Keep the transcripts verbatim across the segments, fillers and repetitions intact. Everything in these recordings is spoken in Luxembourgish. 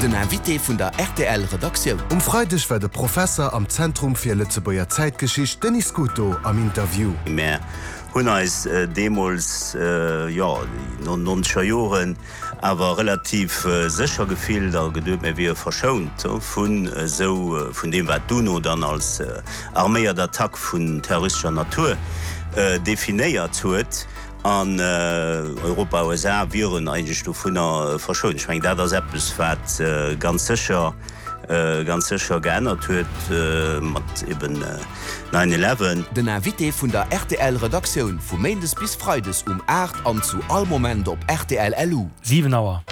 Den Invité vun der R T L Redaktioun. Um Freideg war de Professer am Zentrum fir Lëtzebuerger Zäitgeschicht Denis Scuto am Interview. Mir hunn eis äh, deemools äh, jo, nonzeger Joren awer relativ äh, sécher gefillt a geduecht, mir wiere verschount vun äh, sou äh, vun deem wat d'UNO dann als äh, arméiert Attack vun terroristescher Natur äh, definéiert huet an äh, Europa U S A wieren eigentlech dovunner äh, verschount. Ech mengen dat ass eppes wat äh, ganz sécher äh, ganz sécher geännert huet äh, mat eben äh, nine eleven. Den Invité vun der R T L Redaktioun vu Méindes bis Freides um aacht an zu all Moment op R T L L U. siwen Auer.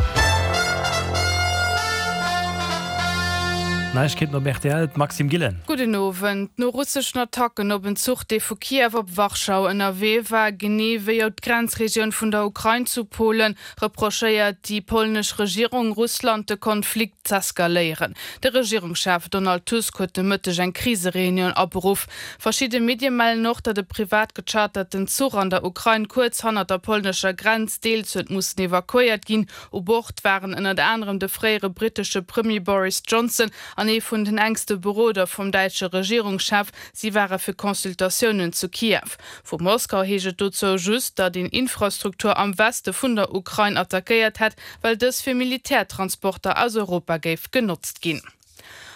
Neiegkeeten op R T L, Maxime Gillen. Gudden Owend. No russeschen Attacken op en Zuch, dee vu Kiew op Warschau ënnerwee war, genee wéi och d'Grenzregioun vun der Ukrain zu Polen, reprochéiert déi polnesch Regierung Russland de Konflikt z'eskaléieren. De Regierungschef Donald Tusk huet de Mëtteg eng Krisereunioun aberuff. Verschidde Medie mellen och, datt e privat gecharterten Zuch an der Ukrain kuerz hannert der polnescher Grenz deels huet mussen evakuéiert ginn. U Bord waren ënnert anerem de fréiere brittesche Premier Boris Johnson an ee vun den enkste Beroder vum däitsche Regierungschef. Si ware fir Consultatiounen zu Kiew. Vu Moskau heescht et dozou just, datt een Infrastruktur am Weste vun der Ukrain attackéiert hätt, well dës fir Militärtransporter aus Europa géif genotzt ginn.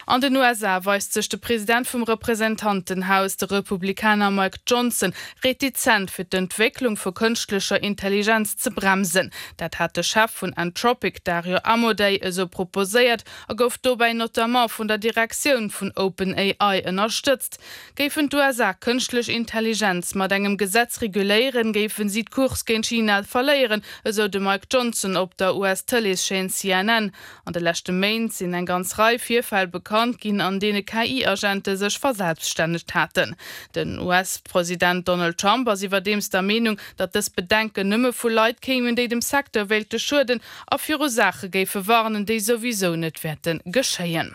An den U S A weist sech de President vum Representantenhaus, de Republikaner Mike Johnson, retizent fir d'Entwécklung vu kënschtlecher Intelligenz ze bremsen. Dat hat de Chef vun Anthropic Dario Amodei esou proposéiert a gouf dobäi notamment vun der Direktioun vun OpenAI ënnerstëtzt. Géifen d'U S A kënschtlech Intelligenz mat engem Gesetz reguléieren, géifen si d'Course géint China verléieren, esou de Mike Johnson op der U S-Tëleeschaîne C N N. An de leschte Méint sinn eng ganz Rei Virfäll bekannt ginn, an deene K I-Agente sech verselbststännegt haten. Den U S-President Donald Trump ass iwwerdeems der Meenung, datt dës Bedenken nëmme vu Leit kéimen, déi dem Secteur wéilte schueden a viru Saache géife warnen, déi souwisou net wäerte geschéien.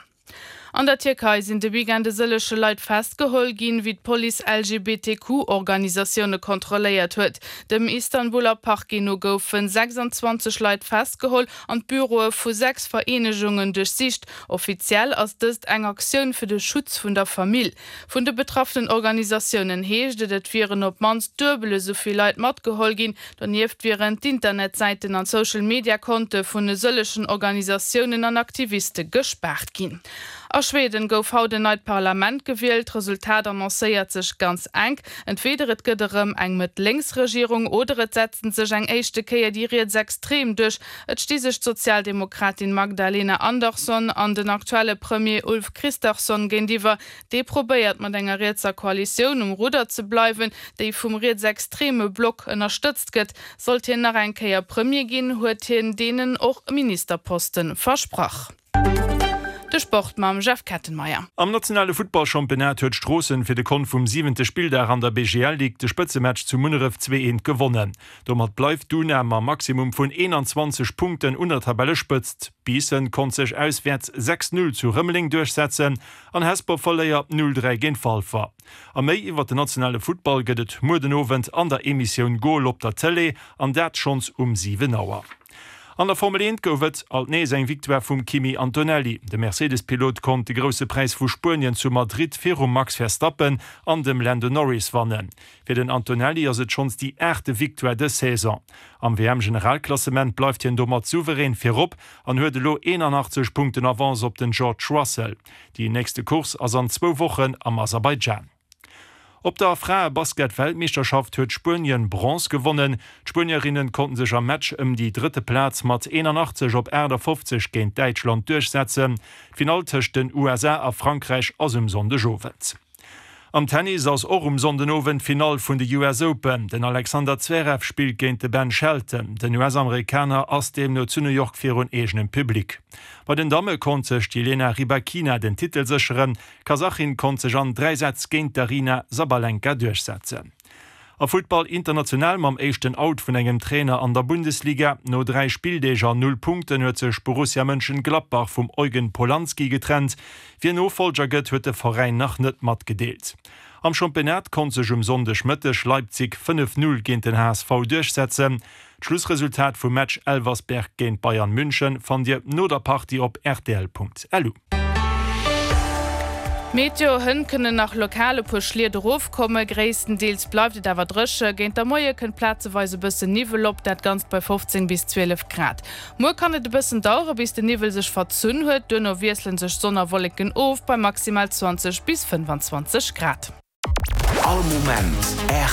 An der Tierkei sinn de Weekend e sëlleche Leit festgeholl ginn, wéi d'Police L G B T Q-Organisatioune kontrolléiert huet. Dem Istanbuler Parquet no goufe sechsanzwanzeg Leit festgeholl an d'Büroe vu sechs Vereenegungen duerchsicht. Offiziell ass dëst eng Aktioun fir de Schutz vun der Famill. Vun de betraffenen Organisatiounen heescht et, et wieren op d'mannst duebel esou vill Leit matgeholl ginn. Donieft wieren d'Internetsäiten an Social-Media-Konte vun e sëllechen Organisatiounen an Aktiviste gespaart ginn. A Schweden gouf haut en neit Parlament gewielt. D'Resultat annoncéiert sech ganz enk. Entweder et gëtt erëm eng Mëtt-Lénks-Regierung oder et setzen sech eng éischte Kéier déi Rietsextrem duerch. Et sti sech d'Sozialdemokratin Magdalena Andersson an den aktuelle Premier Ulf Kristersson géintiwwer. Dee probéiert mat enger rietser Koalitioun um Rudder ze bleiwen, déi vum rietsextreme Block ënnerstëtzt gëtt. Sollt hien nach eng Kéier Premier ginn, huet hien deenen och Ministerposte versprach. De Sport mam Jeff Kettenmeyer. Am nationale Futtballchampionnat huet Stroossen fir de Kont vum siwente Spilldag an der B G L Ligue de Spëtzematch zu Munneref zwee eent gewonnen. Domat bleift d'UNA mam Maximum vun eenanzwanzeg Punkten un der Tabellespëtzt. Biissen konnt sech auswäerts sechs null zu Rëmeleng duerchsetzen an Hesper verléiert null dräi géint Walfer. A méi iwwer den nationale Futtball gëtt et muer den Owend an der Emissioun Goal op der Tëlee, an dat schonns um siwen Auer. An der Formel eent gouf et alt nees eng Victoire vum Kimi Antonelli. De Mercedes-Pilot konnt de Grousse Präis vu Spuenien zu Madrid virum Max Verstappen an dem Lando Norris wannen. Fir den Antonelli ass et schonns déi aachte Victoire dës Saison. Am W M-Generalklassement bleift hien domat souverän virop an huet elo eenanachtzeg Punkten Avance op den George Russell. Déi nächste Course ass an zwou Wochen am Aserbaidschan. Op der Frae-Basket-Weltmeeschterschaft huet Spuenien Bronze gewonnen. D'Spuenierinnen konnten sech am Match ëm déi drëtte Plaz mat eenanachtzeg op aachtafofzeg géint Däitschland duerchsetzen. D'Finall tëscht den U S A a Frankräich ass um Sonndegowend. Am Tennis ass och um Sonndenowend d'Finall vun de U S Open. Den Alexander Zverev spillt géint de Ben Shelton. Den U S-Amerikaner ass deemno zu New York virun eegenem Public. Bei den Damme konnt sech d'Jelena Rybakina den Titel sécheren. D'Kasachin konnt sech an dräi Sätz géint d'Aryna Sabalenka duerchsetzen. A Futtball international mam éischten Out vun engem Trainer an der Bundesliga. No dräi Spilldeeg an null Punkten huet sech Borussia Mönchengladbach vum Eugen Polanski getrennt. Wien Nofollger gëtt, huet de Veräin nach net matgedeelt. Am Championnat konnt sech um Sonndegmëtteg Leipzig fënnef Null géint den H S V duerchsetzen. D'Schlussresultat vum Match Elversberg géint Bayern München fannt Dir no der Partie op rtl Punkt L U. Meteo, Hënt kënnen nach lokal e puer Schliet erofkommen, gréisstendeels bleift et awer dréche. Géint de Moie kënnt plazeweis e bëssen Niwwel op, dat Ganzt bei fofzéng bis zwielef Grad. Muer kann et e bëssen dauere bis den Niwwel sech verzunn huet, duerno wiessele sech Sonn a Wolleken of bei maximal zwanzeg bis fënnfanzwanzeg Grad. All Moment rtl.